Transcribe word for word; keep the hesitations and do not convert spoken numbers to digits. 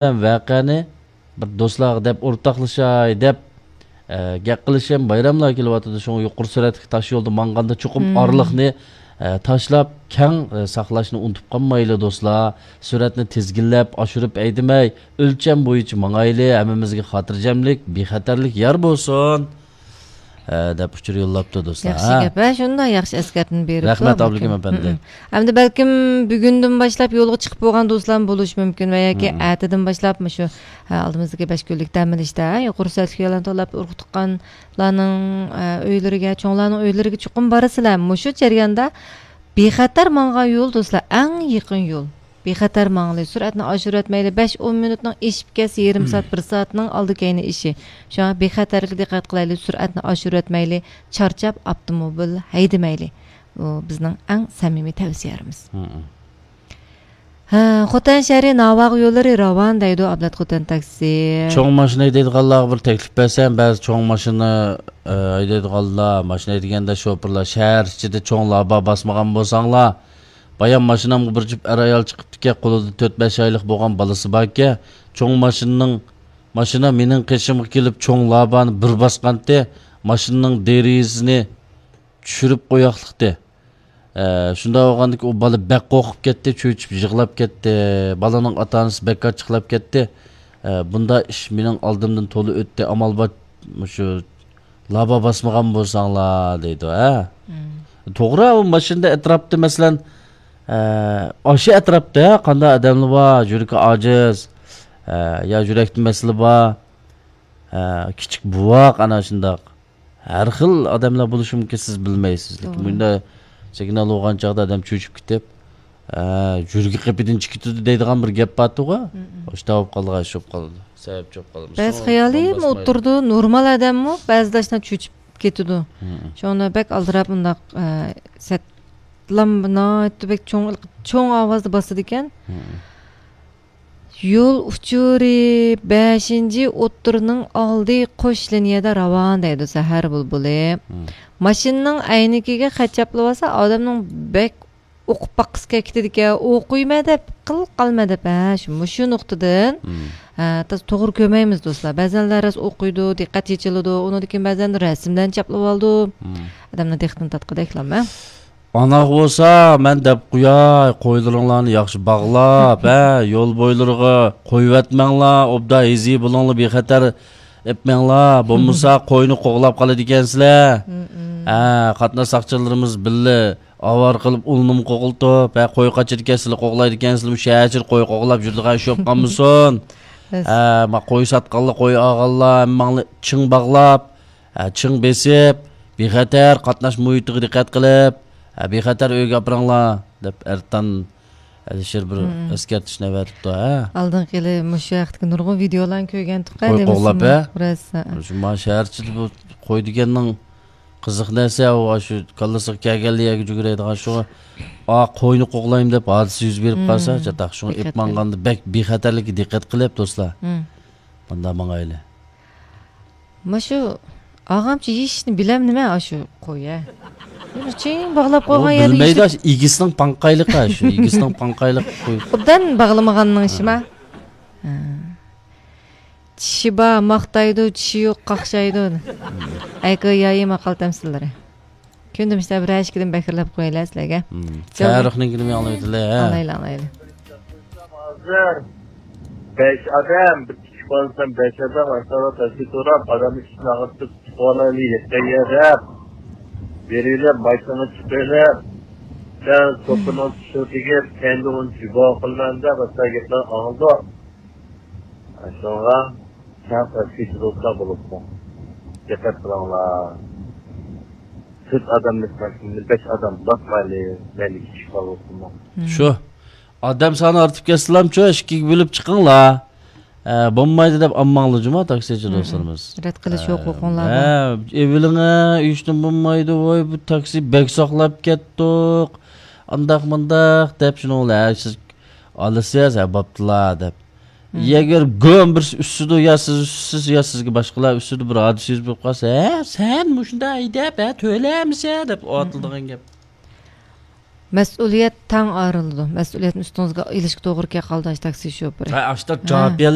ۋەقەنى بىر دوستلارغا دەپ ئورتاقلىشاي دەپ، ئە، گەپ قىلىشىم، بايراملار كېلىۋاتىدۇ. شۇڭا يۇقىرى سۈرئەتلىك تاش يولدا ماڭغاندا چوقۇم مم. ئارىلىقنى، ئە، تاشلاپ، كەڭ، ئە، ساقلاشنى ئۇنتۇپ قالمايلى، دوستلار. سۈرئەتنى تىزگىنلەپ، ئاشۇرۇپ ھەيدىمەي، ئۆلچەم بويىچە ماڭايلى. ھەممىمىزگە خاتىرجەملىك، بىخەتەرلىك يار بولسۇن. ئە، دەپ ئۇچۇر يوللاپتۇ، دوستلار. ياخشى ھە. گەپ، ھە، شۇنداق ياخشى ئەسكەرتمە بېرىپتۇ رەھمەت، ئابلىكىم ئەپەندى. مم. ئەمدى بەلكىم بۈگۈندىن باشلاپ يولغا چىقىپ بولغان دوستلارمۇ بولۇشى مۇمكىن ۋە ياكى مم. ئەتىدىن باشلاپ مۇشۇ، ھە، ئالدىمىزدىكى بەش كۈنلۈك دەم ئېلىشتا، ھە، يۇقىرى سۈرئەتلىك يوللارنى تاللاپ ئۇرۇق تۇغقانلارنىڭ، ئە، ئۆيلىرىگە، چوڭلارنىڭ ئۆيلىرىگە چوقۇم بارىسىلەر. مۇشۇ جەرياندا بىخەتەر ماڭغان يول، دوستلار، ئەڭ يېقىن يول. بىخەتەر ماڭىلى، سۈرئەتنى ئاشۇرۇۋەتمەيلى. بەش، ئون مىنۇتنىڭ ئېشىپ كەتسە، يېرىم سائەت، بىر سائەتنىڭ ئالدى كەينى ئىشى. شۇڭا بىخەتەرلىككە دىققەت قىلايلى، سۈرئەتنى ئاشۇرۇۋەتمەيلى، چارچاپ ئاپتوموبىل ھەيدىمەيلى. بۇ بىزنىڭ ئەڭ سەمىمىي تەۋسىيەمىز. مم. ھە، خوتەن شەھىرى ناۋاغا يوللىرى راۋان دەيدۇ، ئابلەت خوتەن تاكسى. چوڭ ماشىنا ھەيدەيدىغانلارغا بىر تەكلىپ بەرسەم، بەزى چوڭ ماشىنا، ئە، ھەيدەيدىغانلار، ماشىنا ھەيدىگەندە شوپۇرلار شەھەر ئىچىدە چوڭ لابا باسمىغان بولساڭلار، بايام ماشىنامغا بىر جۈپ ئەر-ئايال چىقىپتىكەن، قولىدا تۆت-بەش ئايلىق بولغان بالىسى باركەن. چوڭ ماشىنىنىڭ، ماشىنا مېنىڭ قېشىمغا كېلىپ، چوڭ لابانى بىر باسقانتى، ماشىنىنىڭ دېرىزىسىنى چۈشۈرۈپ قوياقلىقتى. ئە، شۇنداق بولغاندىكىن ئۇ بالا بەك قورقۇپ كەتتى، چۆچۈپ يىغلاپ كەتتى. بالىنىڭ ئاتا-ئانىسى بەك ئاچچىقلاپ كەتتى. ئە، بۇنداق ئىش مېنىڭ ئالدىمدىن تولا ئۆتتى. ئامال بار، مۇشۇ لابا باسمىغان بولساڭلار، دەيدۇ، ھە؟ مم. توغرا، ئۇ ماشىنىدا ئەتراپتا، مەسىلەن، ئە، ئاشۇ ئەتراپتا قانداق ئادەملەر بار، يۈرىكى ئاجىز، ئە، يا يۈرەكتە مەسىلە بار، ئە، كىچىك بوۋاق، ئانا شۇنداق. ھەر خىل ئادەملەر بولۇشى مۇمكىن، سىز بىلمەيسىز. لېكىن توغرا. بۇنداق سىگنال بولغان چاغدا ئادەم چۆچۈپ كېتىپ، ئە، يۈرىكى قېپىدىن چىقىپ كېتىدۇ دەيدىغان بىر گەپ بارتىغۇ. مم. ئاشۇنداق بولۇپ قالىدىغان ئىش بولۇپ قالىدۇ. سەۋەبچى بولۇپ قالىدۇ. بەزى خىيالىيمۇ ئولتۇرىدۇ، نورمال ئادەممۇ بەزىدە ئاشۇنداق چۆچۈپ كېتىدۇ. مم. شۇڭا بەك ئالدىراپ ئۇنداق، ئە، سەتلام ناھايىتى بەك چوڭ، چوڭ ئاۋازدا باسىدىكەن. مم. يول ئۇچۇرى بەشىنچى ئوتتۇرىنىڭ ئالدى قوش لىنىيەدە راۋان دەيدۇ سەھەر بۇلبۇلى. مم. ماشىنىنىڭ ئەينىكىگە خەت چاپلىۋالسا، ئادەمنىڭ بەك ئوقۇپ باققۇسى كېلىپ كېتىدىكەن، ئوقۇيمەن دەپ، قىل قالمە دەپ، ھە، شۇ، مۇشۇ نۇقتىدىن، مم. ھە، تاز-، توغرا كۆرمەيمىز، دوستلار. بەزەنلەر راست ئوقۇيدۇ، دىققەت چېچىلىدۇ، ئۇنىڭدىن كېيىن بەزەن رەسىملەرنى چاپلىۋالىدۇ. مم. ئادەمنىڭ دىققىتىنى تارتقۇدەكلا، ھە. ئاناق بولسا، مەن دەپ قوياي، قويلىرىڭلارنى ياخشى باغلاپ، ھە، يول بويلىرىغا قويۇۋەتمەڭلار، ئوبدان ھېزى بولۇڭلار، بىخەتەر ئېپمەڭلار، بولمىسا قوينى قوغلاپ قالىدىكەنسىلەر. مم. ھە، قاتناش ساقچىلىرىمىز بىللە ئاۋارە قىلىپ، ئۇلنىمۇ قوغلىتىپ، ھە، قوي قاچىدىكەنسىلەر، قوغلايدىكەنسىلەر، مۇشۇ شەھەر ئىچىدە قوي قوغلاپ يۈرىدىغان ئىش بولۇپ قالمىسۇن. بەس. ھە، ما قوي ساتقانلار، قوي ئالغانلار، ھەممەڭلار چىڭ باغلاپ، ھە، چىڭ بېسىپ، بىخەتەر قاتناش مۇھىتىغا دىققەت قىلىپ، ھە، بىخەتەر ئۆيگە ئاپىرىڭلار، دەپ ئەرتان ئەلىشىر بىر مم. ئەسكەرتىشنى ئەۋەتىپتۇ، ھە. ئالدىنقى يىلى مۇشۇ ھەقتىكى نۇرغۇن ۋىدېئولارنى كۆرگەنتۇق، قوي قوغلاپ، ھە؟ راست، ھە. شۇ ما شەھەر ئىچىدە بۇ قوي دېگەننىڭ قىزىق نەرسە، ئۇ شۇ كاللىسىغا كەلگەنلا يەرگە جۈگۈرەيدىغان، شۇ، ئا، قوينى قوغلايمەن دەپ ھادىسە يۈز بېرىپ مم. قالسا، چاتاق. شۇڭا ئېپ دىققەت قىلىڭ. ماڭغاندا بەك بىخەتەرلىككە دىققەت قىلىپ، دوستلار. مم. مۇنداق ماڭايلى. ماشۇ ئاغامچە يېيىشنى بىلەم نېمە ئاشۇ قوي، ھە؟ بىر چىڭ باغلاپ ئۇ قويغان يەردە بىلمەيدۇ، يېيىشنى ئاشۇ ئىگىسىنىڭ پاڭقايلىقى، شۇ ئىگىسىنىڭ پاڭقايلىقى قوي. ئوبدان باغلىمىغاننىڭ ئىشى ما؟ ھە. چىشى بار ماختايدۇ، چىشى يوق قاقشايدۇ. ئەيكى يايى ماقال تەمسىللىرى. كۈندە مۇشۇنداق بىر ئىككىدىن بەكرىلەپ قويىلە سىلەرگە. مم. جاۋاب. تارىخنىڭكىنى ئاڭلاۋېتىلى، ھە. ئاڭلايلى، ئاڭلايلى. ھازىر بەش ئادەم، بىر كىچىك بالىسى بىلەن بەش ئادەم ئاشۇنداق تەكسى سوراپ، ئادەمنى ئىچىنى ئاغرىتىپ، تۇتۇۋالايلى، يەتكەن يەردە بېرىلىپ، ماشىنىغا چىقىرىپ، سەن سوپىنىڭ چۈشىگە تېگىپ، كەينىدىن ئۇنى جۇبا قىلىمەن دەپ، ئاشۇنداق گەپلەرنى ئاڭلىدۇق. شۇڭا كەڭ تەسكىچى دوستلار بولۇپمۇ دىققەت قىلىڭلار. تۆت ئادەملىك ماشىنىنى بەش ئادەم باسمايلى، مەيلى كىچىك بالا بولسۇنمۇ. مم. شۇ. ئادەم سانى ئارتىپ كەتسىلامچۇ، ئىككىگە بۆلۈپ چىقىڭلار. ئە، بولمايدۇ دەپ ئالماڭلار جۇما تاكسىچى مم. دوستلىرىمىز. رەت قىلىش ھوقۇقۇڭلار بار. ئە، ئېۋىلىڭە ئۆيۈشتىن بولمايدۇ، ۋاي، بۇ تاكسى بەك ساقلاپ كەتتۇق. ئانداق مۇنداق دەپ شۇنىڭ بىلەن، ھە، سىز ئالىسىز، ھە، بوپتۇلا دەپ. مم. ئەگەر گۆم بىرسى ئۈسسىدۇ، يا سىز ئۈسسىز، يا سىزگە باشقىلار ئۈسسىدۇ، بىر ھادىسە يۈز بېرىپ قالسا، ھە، سەن مۇشۇنداق ھەيدەپ، ھە، تۆلەمىسە دەپ مم. ئاتىلىدىغان گەپ. مەسئۇلىيەت تەڭ ئايرىلىدۇ. مەسئۇلىيەتنى ئۈستىڭىزگە ئېلىشقا توغرا كەپ قالىدۇ، ئاشۇ تاكسى شوپۇرى. ھە، ئاشۇنداق ھە. جاۋاب بېرىلىدۇ.